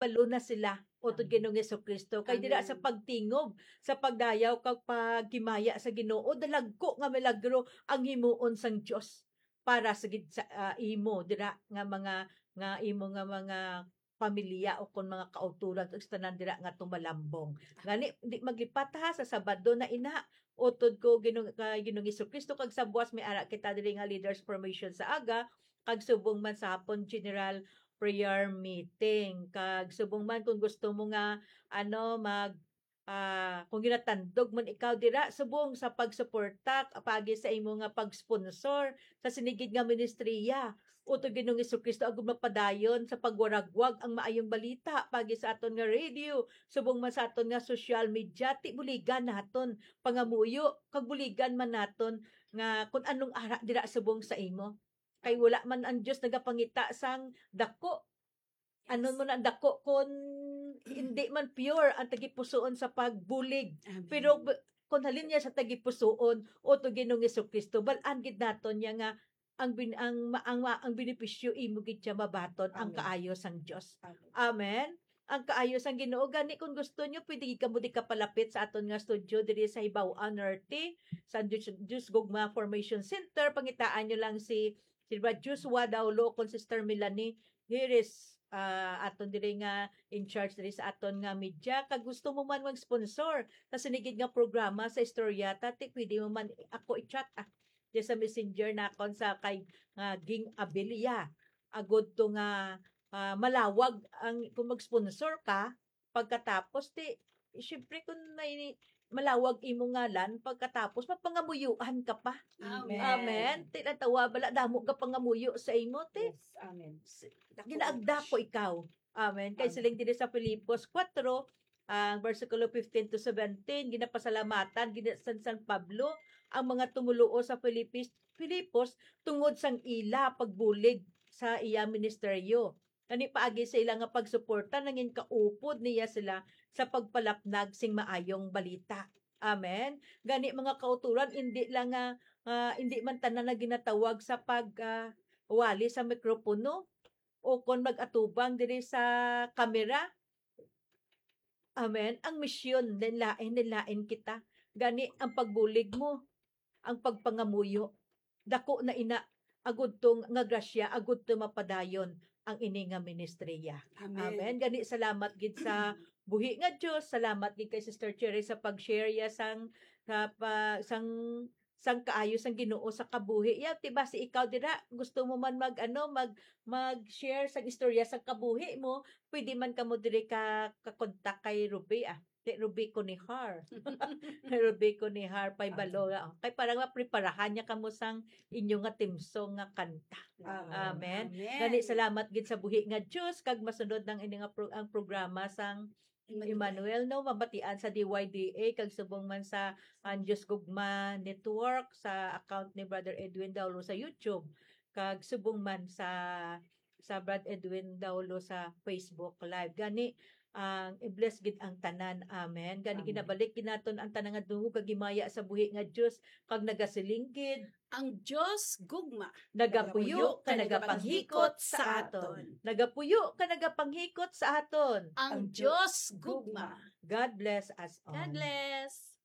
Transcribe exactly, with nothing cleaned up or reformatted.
Lalo na sila, utod Amen. Ginoong Jesucristo. Kay dira sa Amen. Pagtingob, sa pagdayaw kag paghimaya sa Ginoo, dalagko nga milagro ang himuon sang Dios para sa gid sa, ah, imo dira nga mga, nga imo nga mga pamilya o kon mga kauturan o sa tanan dira nga tumalambong. Gani, di maglipat ha, sa Sabado na ina, utod ko Ginoong, kay Ginoong Jesucristo, kag sa buwas may ara kita diri nga leaders formation sa aga, kag subong man sa hapon general prayer meeting. Kag subong man kung gusto mo nga, ano, mag, ah, kung ginatandog man ikaw dira, subong sa pagsuporta, paagi sa imo nga pag-sponsor sa sinigid nga ministriya. Utod Ginoong Jesucristo, agud mapadayon sa pagwaragwag ang maayong balita, paagi sa aton nga radio, subong man sa aton nga social media, ti buligan naton pangamuyo, kag buligan man naton nga kung anong ara dira subong sa imo. Kay wala man ang Dios nagapangita sang dako. Ano Yes. mo na dako kung hindi man pure ang tagipusoon sa pagbulig. Amen. Pero b-, kung halin niya sa tagipusoon, utod Ginoong Jesucristo, bal-an gid naton niya nga ang bin-, ang ma-, ang ma-, ang benepisyo imo gid siya mabaton ang Amen. Kaayo sang Dios. Amen. Amen. Ang kaayo sang Ginoo. Gani, kung gusto nyo, pwede gid kamo di kapalapit sa aton nga studio diri sa Hibaw-an Norte, sa Dios, Dios Gugma Formation Center. Pangitaan nyo lang si Sir Brad Joshua Daulo, kon Sister Melanie Hiris, ah, aton diri nga in charge diri sa aton nga media. Kag gusto mo man mag-sponsor sa sinigid nga programa sa Istorya Ta, ti pwede mo man ako i-chat, ah, di sa messenger nakon sa kay, ah, Ging Abilia. Agud to nga, ah, malawag ang, kung mag-sponsor ka, pagkatapos, ti, syempre, kung may malawag imo ngalan, pagkatapos, mapangamuyuan ka pa. Amen. Amen. Ti, natawa, bala, damo ka pangamuyo sa imo, ti. Yes, amen. S-, Dako ginaagda ko ikaw. Amen. Kay Amen. Siling diri sa Filipos four, ang bersikulo fifteen to seventeen, ginapasalamatan gid ni San, San Pablo ang mga tumoluo sa Filipis-, Filipos tungod sang ila pagbulig sa iya ministeryo. Gani paagi sa ila nga pagsuporta, nangin kaupod niya sila sa pagpalapnag sing maayong balita. Amen. Gani, mga kauturan, indi lang nga, ah, indi man tanan na ginatawag sa pag, ah, wali sa mikropono o kon mag-atubang diri sa kamera. Amen. Ang misyon, lain-lain, lain-lain kita. Gani, ang pagbulig mo, ang pagpangamuyo, dako na ina, agud to nga grasya, agud to mapadayon ang ini nga ministriya. Amen. Amen. Gani, salamat gid sa buhi nga Dios. Salamat gid kay Sister Cherry sa pag-share ya sang, sa pa, sang, sang kaayo sang Ginoo sa kabuhi ya. Ti basi ikaw dira, gusto mo man mag, ano, mag, mag-share sang istorya sang kabuhi mo, pwede man kamo diri ka, ka-contact kay Ruby, ah. Kay Ruby Conihar. Kay Ruby Conihar, pay Ah. balo, ah. Kay para mapreparahan niya kamo sang inyo nga theme song nga kanta. Ah. Amen. Amen. Gani, salamat gid sa buhi nga Dios, kag masunod nang ini nga pro-, ang programa sang Emmanuel. Emmanuel, no, mabatian sa D Y D A, kag subong man sa Ang Dios Gugma Network, sa account ni Brother Edwin Daulo sa YouTube, kag subong man sa, sa Brad Edwin Daulo sa Facebook Live. Gani, ang i-bless gid ang tanan. Amen. Gani, Amen. ginabalik gid naton ang tanan nga dungog kag himaya sa buhi nga Dios, kag nagasiling gid, Ang Dios gugma. Nagapuyo ka, nagapanghikot sa aton. Nagapuyo ka, nagapanghikot sa aton. Ang Dios gugma. God bless us all. God bless.